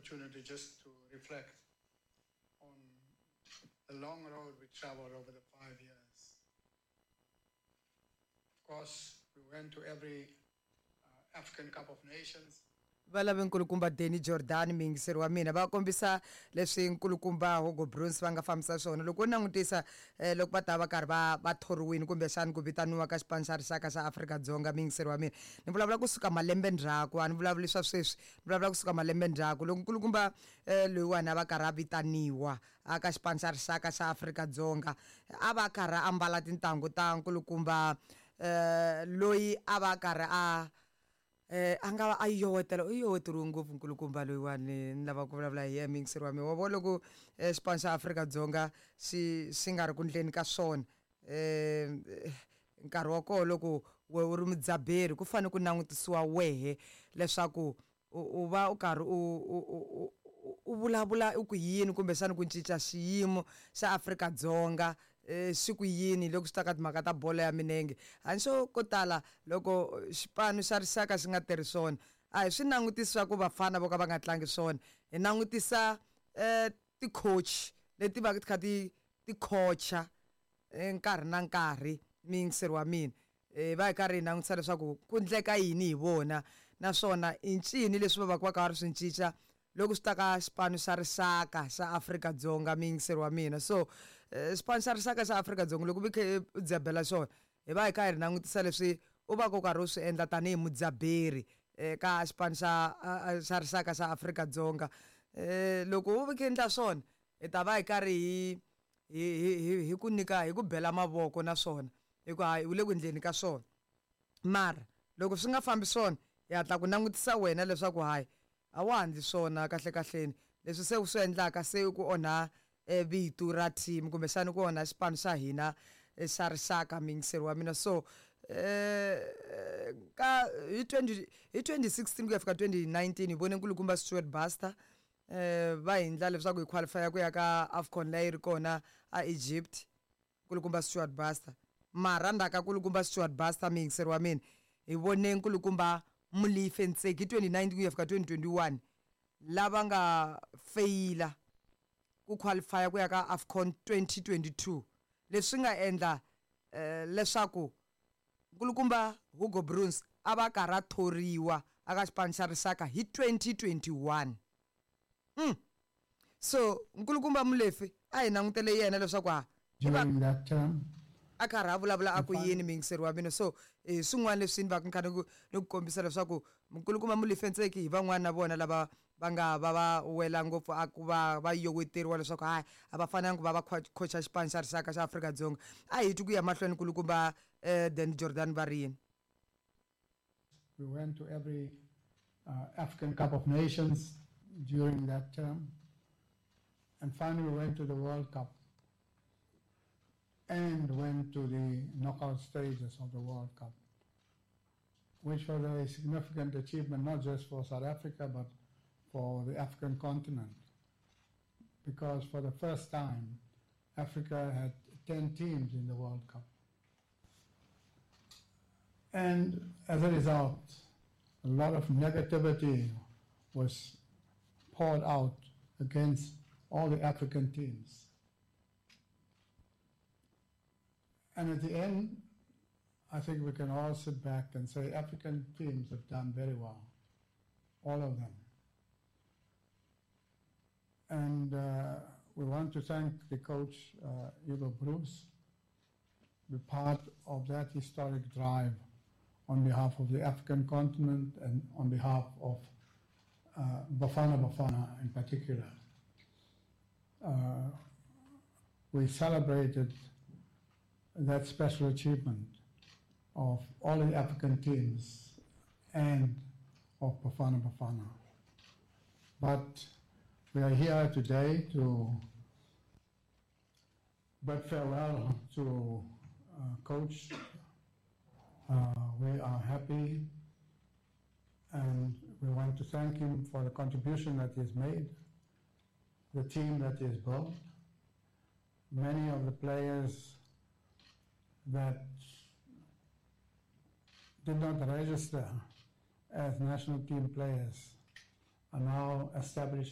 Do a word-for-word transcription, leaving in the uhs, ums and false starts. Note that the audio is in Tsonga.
opportunity just to reflect on the long road we traveled over the five years. Of course, we went to every uh, African Cup of Nations. Va lave nkulukumba Danny Jordan, muyingiseri wa mina, va kombisa leswi nkulukumba Hugo Broos va nga fambisa swona. Loko u langutisa eh, loko va ta va karhi va va thoriwini kumbexani ku vitaniwa ka xipano xa rixaka xa Afrika-Dzonga, muyingiseri wa mina, ni vulavula kusuka malembe ndzhaku, a ni vulavuli swa sweswi, ni vulavula kusuka malembe ndzhaku. Loko nkulukumba eh, loyiwani a va karhi a vitaniwa a ka xipano xa rixaka xa Afrika-Dzonga, a va karhi a ambala tintangu ta nkulukumba eh, loyi a va karhi a eh a nga va a yowetela, u yoweteriwe ngopfu nkulukumba loyiwani ni lava ku vulavula hi yena, muyingiseri wa mina. Wa vona loko eh, xipano xa Afrika-Dzonga xi xi nga ri ku ndleni ka swona, eh nkarhi wa koho loko we u ri mudzaberi ku fanele ku langutisiwa wehe leswaku u u va u karhi u u u u vulavula u ku yini kumbexana ku cinca xiyimo xa Afrika-Dzonga eh xi ku yini loko swi ta ka timhaka ta bolo ya milenge. Hambi ko tala loko xipano xa rixaka xi nga tirhi swona, a hi swi langutisi swa ku vafana vo ka va nga tlangi swona, hi langutisa eh ti-coach leti va ti kha ti ti coacha nkarhi na nkarhi, muyingiseri wa mina. Eh va hi karhi hi langutisa leswaku ku endleka yini hi vona, naswona i ncini leswi va va ka va karhi swi cinca loko swi ta ka xipano xa rixaka xa Afrika-Dzonga, muyingiseri wa mina. So xipano xa rixaka xa Afrika-Dzonga loko u kha u dzabela xona, hi va hi kha hi ri langutisa leswi u va ku karhi u swi endla tanihi mudzaberi eka xipano xa xa rixaka xa Afrika-Dzonga. Eh loko u kha endla swona, hi ta va hi karhi hi hi hi hi ku nyika, hi ku bela mavoko naswona hikuva u le ku endleni ka swona. Mara loko swi nga fambi swona, hi hatla ku langutisa wena leswaku hayi a wa ha ndli swona kahle kahleni, leswi se u swi endlaka se ku onha vito ra team kumbexana ku onha xipano xa hina xa rixaka, muyingiseri wa mina. So eh ka hi twenty hi twenty sixteen ku ya fika twenty nineteen hi vone nkulukumba Stuart Baxter eh va hi endla leswaku hi qualify ku ya ka AFCON leyi ri kona a Egypt, nkulukumba Stuart Baxter. Mara ndzhaku ka nkulukumba Stuart Baxter, muyingiseri wa mina, hi vone nkulukumba Molefi Ntseki hi twenty nineteen ku ya fika twenty twenty one lava nga feyila ku qualify ku ya ka AFCON twenty twenty two, leswi nga endla eh, leswaku nkulukumba Hugo Broos a va karhi a thoriwa aka xipano xa rixaka hi twenty twenty one. Mm. So nkulukumba Molefi a hi langutele yena leswaku ha during that term a karhi a vulavula a ku yini, muyingiseri wa mina. So eh swin'wana leswi ni va ni kha ni ku ni ku kombisa leswaku nkulukumba Molefi Ntseki hi van'wana na vona lava va nga va va wela ngopfu a ku va va yoweteriwa leswaku hayi a va fanelanga ku va va coacha xipano xa rixaka xa Afrika-Dzonga. A hi twi ku ya mahlweni nkulukumba eh Danny Jordan va ri yini. We went to every uh, African Cup of Nations during that term, and finally we went to the World Cup and went to the knockout stages of the World Cup, which was a significant achievement not just for South Africa but for the African continent, because for the first time Africa had ten teams in the World Cup. And as a result, a lot of negativity was poured out against all the African teams. And at the end, I think we can all sit back and say African teams have done very well, all of them. And uh, we want to thank the coach, uh, Hugo Broos, be part of that historic drive on behalf of the African continent and on behalf of uh, Bafana Bafana in particular. Uh, we celebrated that special achievement of all the African teams and of Bafana Bafana. But we are here today to bid farewell to uh, Coach. Uh, we are happy and we want to thank him for the contribution that he has made, the team that he has built. Many of the players that did not register as national team players are now established